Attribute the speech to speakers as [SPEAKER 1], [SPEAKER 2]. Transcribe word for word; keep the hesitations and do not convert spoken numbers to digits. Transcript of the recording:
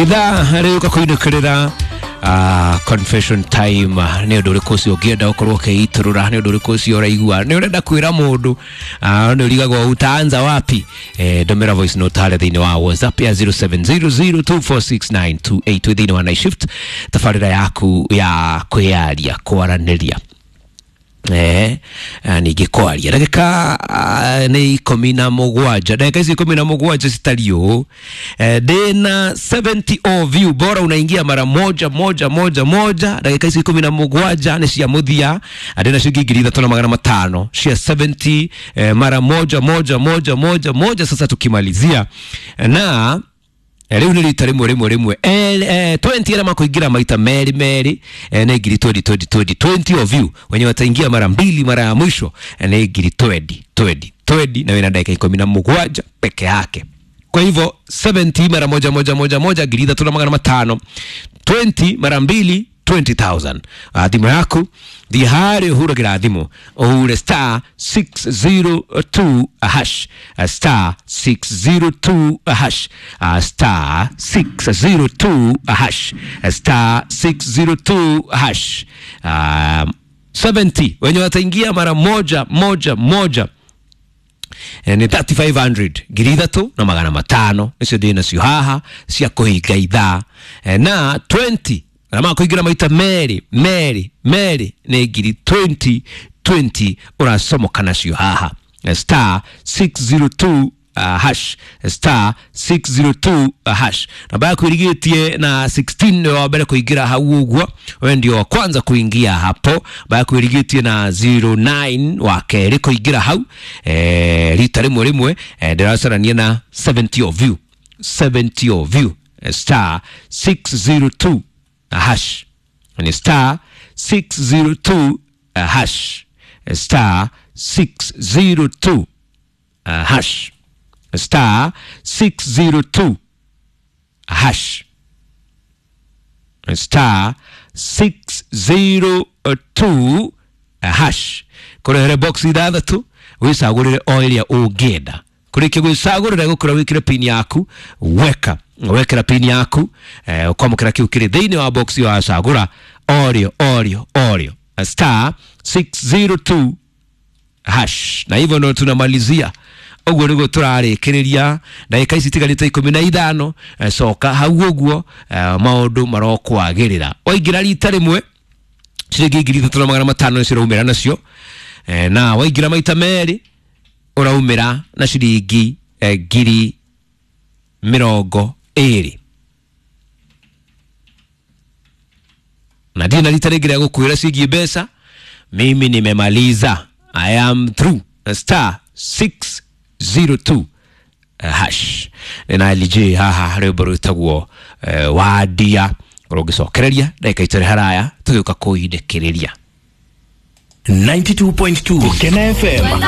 [SPEAKER 1] Ithaa rĩũka kũinũkĩrĩra Uh, confession time. Nĩ ũndũ ũrĩkũ ũcio ũngĩenda ũkorwo ũkĩitũrũra, nĩ ũndũ ũrĩkũ ũcio ũraigua nĩ ũrenda kwĩra mũndũ, uh, nĩ ũrigagwo utaanza wapi? Eh, ndũmĩra voice note harĩa thĩinĩ wa WhatsApp ya zero seven zero zero two four six nine two eight thĩinĩ wa Night Shift, tabarĩra yaku ya kwĩyaria, kwaranĩria, eh ningĩ kwaria ndagĩka nĩ ikũmi na mũgwanja, ndagĩka ici ikũmi na mũgwanja citariĩ ũũ. Ndĩna seventy of you, bora unaingia mara moja moja moja moja. Ndagĩka ici ikũmi na mũgwanja nĩ cia mũthia, ndĩna ciringi ngiri ithatũ na magana matano cia seventy, eh, mara moja moja moja moja moja. Sasa tukimalizia na rĩu nĩ rita rĩmwe rĩmwe rĩmwe, twenty arĩa makũingĩra maita merĩ merĩ nĩ ngiri twenty twenty twenty. Twenty of you wenye wataingia mara mbili mara ya mwisho nĩ ngiri twenty twenty twenty, na wĩna ndagĩka ikũmi na mũgwanja peke yake. Kwa hivyo seventy mara moja moja moja moja ngiri ithatũ na magana matano, twenty mara mbili twenty thousand. Thimũ yaku thiĩ harĩa ũhuragĩra thimũ, ũhure star six zero two hash, star six zero two hash, star six zero two hash, star six zero two hash. Um, seventy wenye wataingia mara moja moja moja ni thirty-five hundred, ngiri ithatũ na magana matano nĩcio ndĩ nacio haha cia kũhinga ithaa, na twenty na makũingĩra maita merĩ merĩ merĩ nĩ ngiri twenty twenty ũracomoka nacio haha, star six zero two uh, hash, star six zero two hash. Namba yaku ĩrigĩtie na sixteen nĩ wa mbere kũingĩra hau ũguo, we ndio wa kwanza kuingia hapo. Namba yaku ĩrigĩtie na zero nine wa kerĩ kũingĩra hau, eh, rita rĩmwe rĩmwe, eh, ndĩracarania na seventy of you, seventy of you, star six zero two hash, ni star six zero two hash, star six zero two hash, star six zero two hash, star six zero two hash. Kũrehere box ithathatũ wĩcagũrĩre o ĩrĩa ũngĩenda. Kũrĩkia gwĩcagũrĩra gũkũra wĩkĩre pin yaku, weka wekera pin yaku, eh, ũkwamũkĩra kĩu kĩrĩ thĩinĩ wa box ĩyo wacagũra orĩo orĩo orĩo, star six zero two hash. Na hivyo ndo tunamalizia ũguo nĩguo tũrarĩkĩrĩria ndagĩka ici itigarĩte ikũmi na ithano. Coka hau ũguo, maũndũ marokwagĩrĩra. Waingĩra rita rĩmwe ciringi ngiri ithatũ na magana matano nĩcio ũraumĩra nacio, na waingĩra maita merĩ ũraumĩra na ciringi ngiri mĩrongo ĩrĩ. Na ndirĩ na rita rĩngĩ rĩa gũkwĩra ciĩgiĩ mbeca, mimi nimemaliza, I am through. Star six zero two hash. Na L J haha rwĩmbo rwĩtagwo Wandia, ũrũngĩcokereria ndagĩka itarĩ haraya tũgĩũka kũindĩkĩrĩria.
[SPEAKER 2] ninety-two point two Kena F M.